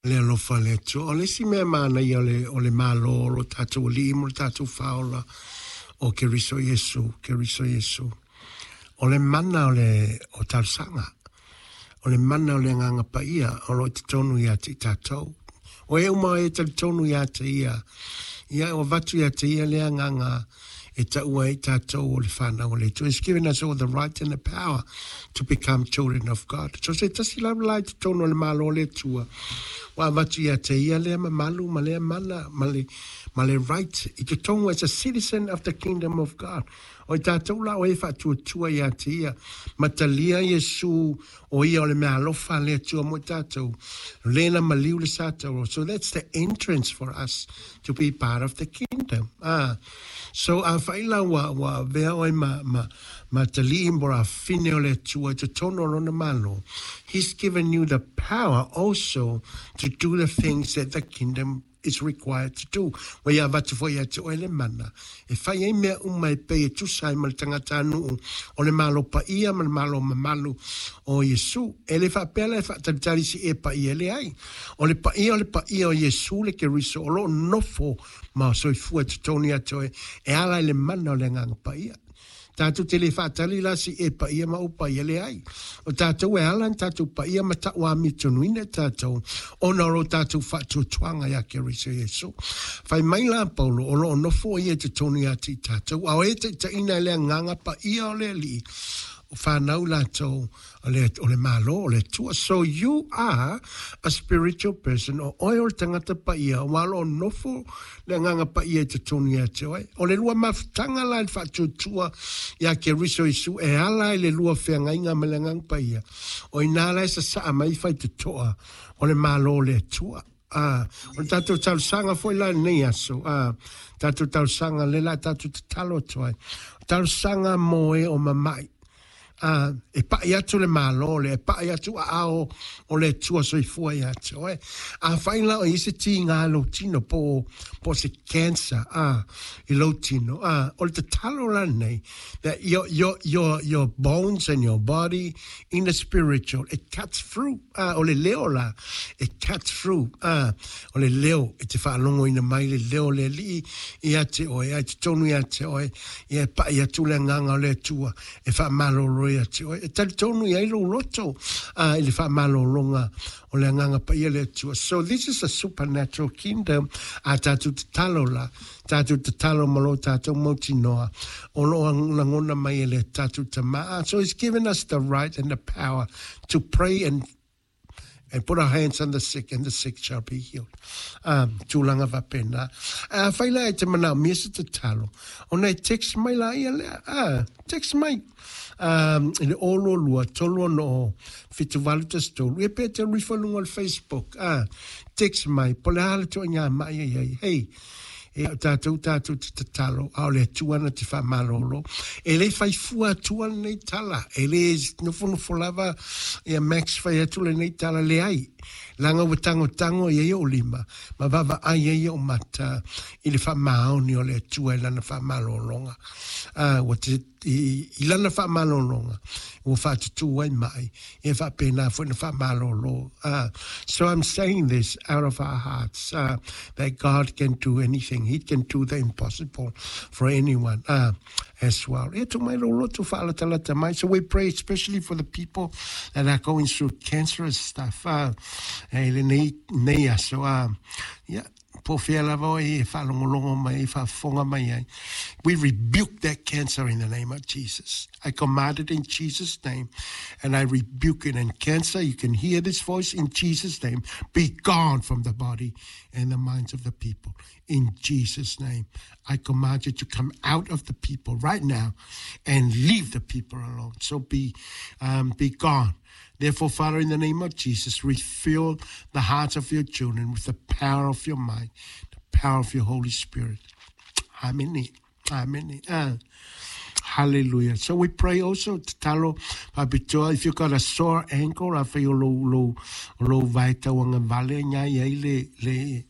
Le alofa o le Atua. O le isi mea manaia o le, o le Malo o lo tatou Alii ma lo tatou Faaola o Keriso Iesu, Keriso Iesu, o le mana o le o talosaga, o le mana o le Agaga Paia o lo o i totonu ia te i tatou. O e uma e talitonu ia te ia, ia ua avatu ia te ia le agaga e taua ai tatou o le whanau o le Atua. He's given us all the right and the power to become children of God. So se tasi lava la i totonu o le Malo o le Atua, ua avatu ia te ia lea mamalu ma lea mana ma le, ma le right i totonu as a citizen of the kingdom of God. O i tatou la o e faatuatua ia te ia, ma talia Iesu o ia o le mea alofa a le Atua mo i tatou, le na maliu le sa taua. So that's the entrance for us to be part of the kingdom. Ah. So afai la ua, ua avea oe ma, ma, ma talii mo afafine o le Atua i totonu o lona Malo, He's given you the power also to do the things that the kingdom is required to do. Ua ia avatu foi ia te oe le mana e fai ai mea uma e pei e tusa ai ma le tagatanuu o le Malo paia ma le Malo mamalu o Iesu. E le faapea la e faatalitali si e paia, leai. O le paia o le paia o Iesu le Keriso o lo o nofo ma soifua i totonu ia te oe e ala i le mana o le Agaga Paia. Tatou te le faatali la si e paia ma ou paia, leai. O tatou e ala na tatou paia ma tauamiotonuina tatou ona o lo tatou faatuatuaga ia Keriso Iesu. Fai mai la Paulo o lo o nofo ia i totonu ia te i tatou, a o e taitaiina e le Agaga Paia o le Alii, o whanau latou o le, o le Malo o le Atua. So you are a spiritual person, o oe o le tagata paia, ua o lo o nofo le Agaga Paia i totonu ia te oe. O le lua mafutaga la i le faatuatua ia Keriso Iesu e ala i le lua feagaiga ma le Agaga Paia, o inā la e sasaa mai faitotoa o le Malo o le Atua. A, o le tatou talosaga foi la i lenei aso, a, tatou talosaga le la tatou tatalo atu ai, talosaga mo e o mama'i, a, e pa'i atu le Malo lea, e pa'i atu aao o le Atua soifua ia te oe. Afai la o i ai se tiga i lou tino po o, po o se cancer, a, i lou tino, a, o le tatalo la lenei, that your, your, your, your bones and your body in the spiritual, it cuts through, a, o le leo la, it cuts through, a, o le leo e te faalogoina mai le leo o le Alii ia te oe, a i totonu ia te oe, ia e pa'i atu le Agaga o le Atua e faamalolo ia te oe. E talitonu i ai lou loto i le faamalologa o le Agaga Paia le Atua. So this is a supernatural kingdom a tatou tatalo la, tatou tatalo ma lo tatou mautinoa o lo o lagona mai e le tatou Tama. So he's given us the right and the power to pray and put our hands on the sick and the sick shall be healed. Um, tūlanga faapena. A whai la e te manaomia se tatalo, ona e text mai la ia lea. Ah, text mai. Um, i le 022 360 7813. Ia pe te alu ifo i luga o le Facebook. Ah, text mai. Po o le a le ituaiga ma'i e i ai. Hey, e o tatou tatou te tatalo, a o le Atua na te faamalolo. E le fai fua atua lenei tala, e le nofonofo lava ia Max fai atu lenei tala, leai. Leaga ua tagotago i ai ou lima, ma vaavaai ai ou mata i le faamaoni o le Atua i lana faamalologa. A, ua te I, i lana faamalologa, ua faatutū ai ma'i, e faapena foi na faamalolo. So I'm saying this out of our hearts, that God can do anything. He can do the impossible for anyone as well. Ia tuu mai lou loto faalatalata mai. So we pray especially for the people that are going through cancerous stuff i lenei nei aso. Ia, Po o fea lava oe e faalogologo mai ai, faafofoga mai ai. We rebuke that cancer in the name of Jesus. I command it in Jesus' name and I rebuke it. And cancer, you can hear this voice in Jesus' name. Be gone from the body and the minds of the people. In Jesus' name, I command you to come out of the people right now and leave the people alone. So be, be gone. Therefore, Father, in the name of Jesus, refill the hearts of your children with the power of your might, the power of your Holy Spirit. Amen. Amen. Hallelujah. So we pray also, tatalo faapitoa, if you've got a sore ankle, afai o lou, lou, lou vae tauagavale, ina ia i le, le,